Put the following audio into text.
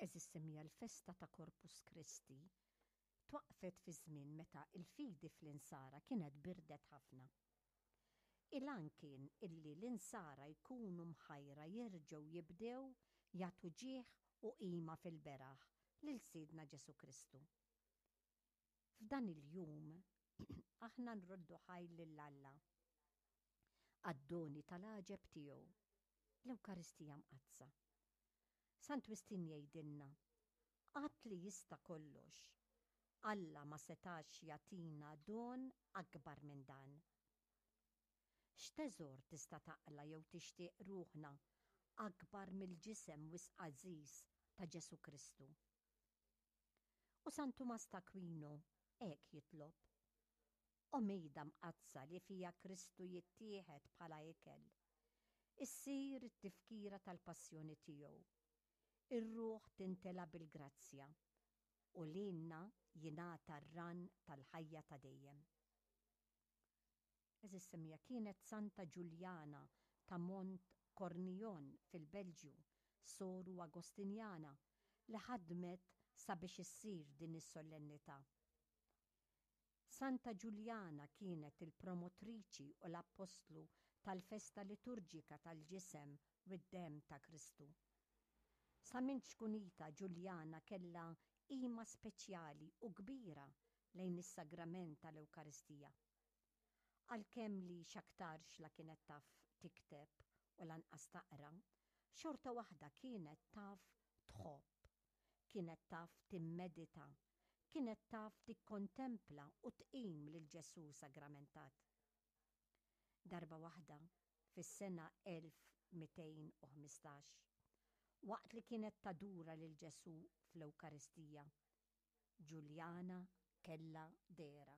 Għeżież semmiegħa l-festa ta' Corpus Christi twaqqfet fi żmien meta l-fidi fl-Insara kienet birdet ħafna. Il-għan kien illi l-Insara jkunu mħajra jerġgħu jibdew jagħtu ġieħ u qima fil-beraħ lil Sidna Ġesù Kristu. F'dan il-jum aħna nroddu ħajr lil Alla għad-doni tal-għaġeb tiegħu, l-Ewkaristija Mqaddsa. Sant Wistin jgħidilna, Att li jista' kollox, Alla ma setax jagħtina don akbar minn dan. X'teżor tista' taqla' jew tixtieq ruħna akbar mill-ġisem wisq għażiż ta' Ġesù Kristu? U San Tumas t'Akwino hekk jitlob, O mejda mqaddsa li fiha Kristu jittieħed bħala ikel, issir it-tifkira tal-passjoni tiegħu. Ir-ruħ tintela bil-grazzja u lilna jingħata r-rann tal-ħajja ta' dejjem. Għeżież semmiegħa, kienet Santa Ġuljana ta' Mont Cornillon fil-Belġju, soru Agostinjana, li ħadmet sabiex issir din is-sollennità. Santa Ġuljana kienet il-promotriċi u l-appostlu tal-festa liturġika tal-Ġisem u d-Demm ta' Kristu. Sa minn ċkunitha Ġuljana kellha qima speċjali u kbira lejn is-Sagrament tal-Ewkaristija. Għalkemm li x'aktarx la kienet taf tikteb u lanqas taqra, xorta waħda kienet taf tħobb, kienet taf timmedita Kienet taf tikkontempla u tqim lil Ġesù Sagramentat. Darba waħda, fis-sena 1215, waqt li kienet tadura lil Ġesù fl-Ewkaristija, Ġuljana kellha dehra.